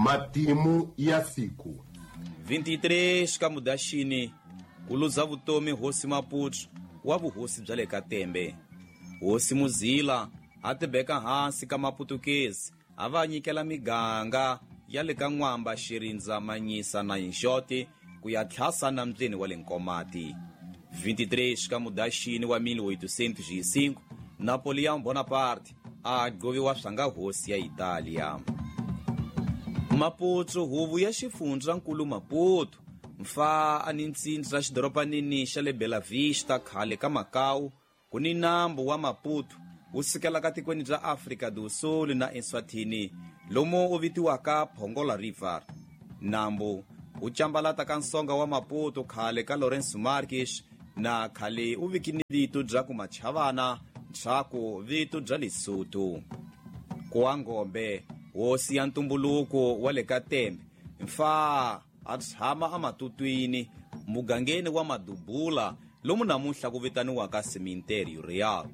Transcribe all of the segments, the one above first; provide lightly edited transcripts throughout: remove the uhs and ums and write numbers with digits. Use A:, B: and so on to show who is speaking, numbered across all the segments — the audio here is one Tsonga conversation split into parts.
A: Matimu ya siku.
B: 23 ka Mudaxini ku luza vutomi hosi Maputo wa vuhosi bya le ka Tembe. Hosi Muzila a tibeka hansi ka Maputukezi a va nyikela miganga ya le ka N'wamba, Xirindza, Manyisa na Yinxoti ku ya tlhasa nambyeni wa le Nkomati. 23 ka Mudaxini wa 1805 Napoleon Bonaparte a gqoviwa swanga hosi ya Italia. Maputo huvo ya xifundzankulu Maputo mfa a ni ntsindza xidoropanini xa le Bela Vista khale ka Macau ku ni nambu wa Maputo wu sukelaka tikweni bya Afrika do Sul na Eswatini lomu wu vitiwaka Pongola River. Nambu wu cambalata ka nsonga wa Maputo khale ka Lourenço Marques na khale wu viki ni vito bya ku Machavana ntshaku vito bya Lesotho. Kuwangombe hosi ya ntumbuluko wa le ka Tembe mfa a tshama amatutwini mugangeni wa Madubula lomu namuntlha ku vitaniwaka Cemitério Real.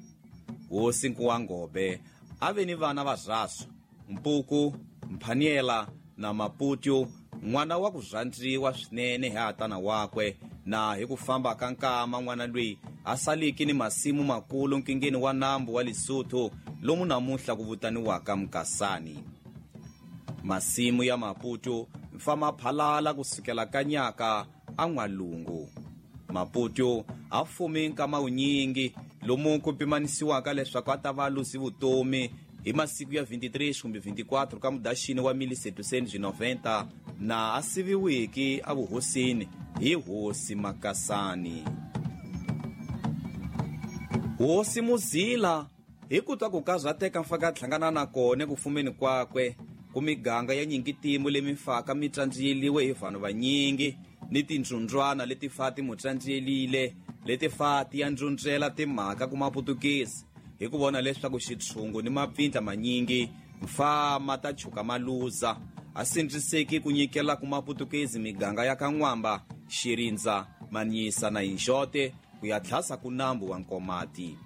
B: Hosi Nkuwangobe a ve ni vana va Mpuku, Mphaniela na Maputo, n'wana wa ku rhandziwa swinene hi hatana wakwe, na hi ku famba ka nkama n'wana loyi a saliki ni masimu makulu nkingeni wa nambu wa Lesotho lomu namuntlha ku vitaniwaka Mkasani. Masimu ya Maputo mfa maphalala kusukela ka nyaka a n'walungu. Maputo a fumi nkama wunyingi lomu ku pimanisiwaka leswaku a ta va luzi vutomi hi masiku ya 23 kumbe 24 ka Mudaxini wa 1790 na a siviwiki evuhosini hi hosi Makasani. Hosi Muzila hi ku twa ku karhateka mfaka hlangana na kona ku fumeni kwakwe ku miganga ya nyingitimu leyi mifaka mi tsandziyeliwe hi vanhu vanyingi ni tindzundzwana leti fa ti mu tsandziyelile leti fa ti ya ndzundzela timhaka ku Maputukezi hi ku vona leswaku xitshungu ni mapfindla manyingi mfa ma ta chuka maluza a sindziseki ku nyikela ku Maputukezi miganga ya ka N'wamba, Xirindza, Manyisa na Yinxote ku ya tlhasa ku nambu wa Nkomati.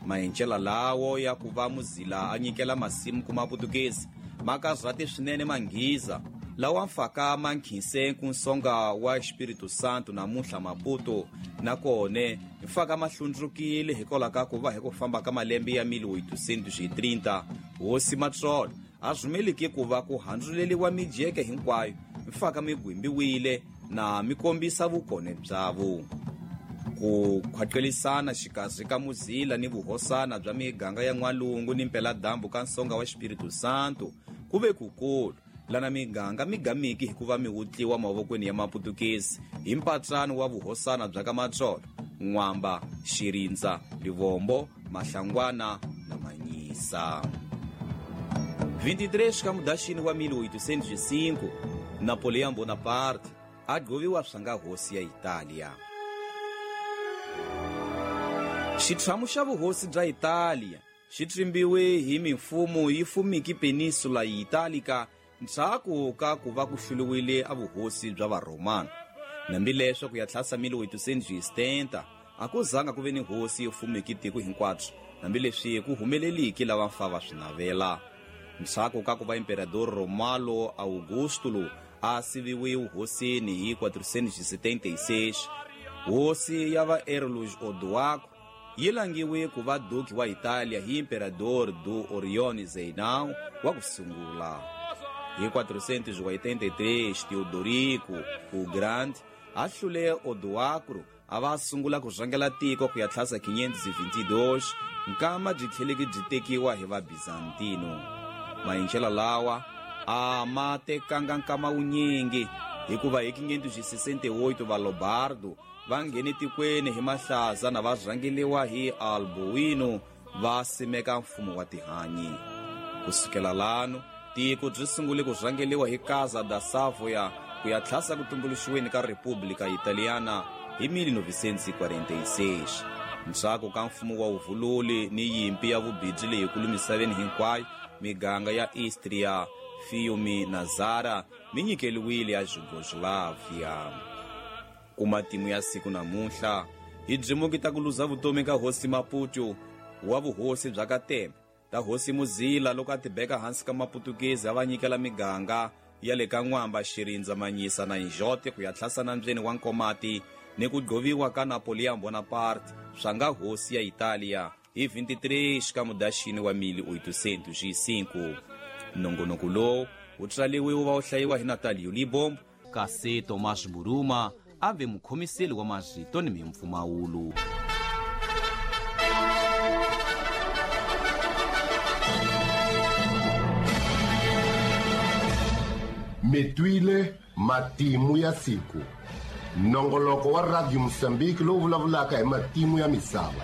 B: Mahencela lawo ya ku va Muzila a nyikela masimu ku Maputukezi ma karhate swinene Manghiza lawa mfaka ma nkhinse ku nsonga wa Espírito Santo namuntlha Maputo, nakone mfaka ma hlundzukile hikwalaho ka ku va hi ku famba ka malembe ya 1830 hosi Matsolo a rhumeliki ku va ku handzuleliwa mijeke hinkwayo mfaka mi gwimbiwile na mi kombisa vukone byavo. Ku khwaqelisana xikarhi ka Muzila ni vuhosana bya miganga ya n'walungu ni mpeladambu ka nsonga wa Espírito Santo ku ve kukulu lana miganga migamiki hikuva mi wutliwa mavokweni ya Maputukezi hi mpatsano wa vuhosana bya ka Matsolo, N'wamba, Xirindza, Livombo, Mahlangwana na Manyisa. 23 ka Mudaxini wa 1805 Napoleon Bonaparte a gqoviwa swanga hosi ya Italia. Xitshamu xa vuhosi bya Italia xi tsimbiwe hi mimfumo yi fumiki peninsula ya Italika ndzhaku ka ku va ku hluliwile a vuhosi bya Varhomana. Hambileswo ku ya tlhasa 1870 a ku zanga ku ve ni hosi yo fumiki tiko hinkwabyo, hambileswi ku humeleliki lava mfa va swi navela. Ndzhaku ka ku va Imperador Romalo Augustulo a siviwe vuhosini hi 476, hosi ya va Erlus Odoaco yi langiwe ku va duki wa Italia hi Imperador do Orione Zeinao wa ku sungula. Hi 483 Teodorico o Grande a hlule Odoacro a va sungula ku rhangela tiko ku ya tlhasa 522 nkama byi tlheleki byi tekiwa hi va Bizantino. Mahinchela lawa a ma tekanga nkama wunyingi hikuva hi 568 va Lombardo va nghene tikweni hi mahlaza na va rhangeliwa hi Alboino va simeka mfumo wa tihanyi. Kusukela lano tiko byi sungule ku rhangeliwa hi Casa da Savoia ku ya tlhasa ku tumbuluxiweni ka República Italiana hi 1946. Ndzhaku ka mfumo wa vuvululi ni yimpi ya vubindzu leyikulu misaveni hinkwayo, miganga ya Istria, Fiume na Zara mi nyikeliwile ya Yugoslavia. Ku matimu ya siku namuntlha hi byimuki ta ku luza vutomi ka hosi Maputo wa vuhosi bya ka Tembe ta hosi Muzila loko a tibeka hansi ka Maputukezi a va nyikela miganga ya le ka N'wamba, Xirindza, Manyisa na Injote ku ya tlhasa nambyeni wa Nkomati ni ku gqoviwa ka Napoleon Bonaparte swa nga hosi ya Italiya hi 23 xikamudaxini wa 1805. Nongonoko lowu wu tswaliwe wu va wu hlayiwa hi Natalio Libombo, kasi Tomas Buruma a ve mukhomiseli wa marito ni mimpfumawulo.
A: Mi twile matimu ya siku, nongoloko wa Radio Mosambiki lowu vulavulaka hi matimu ya misava.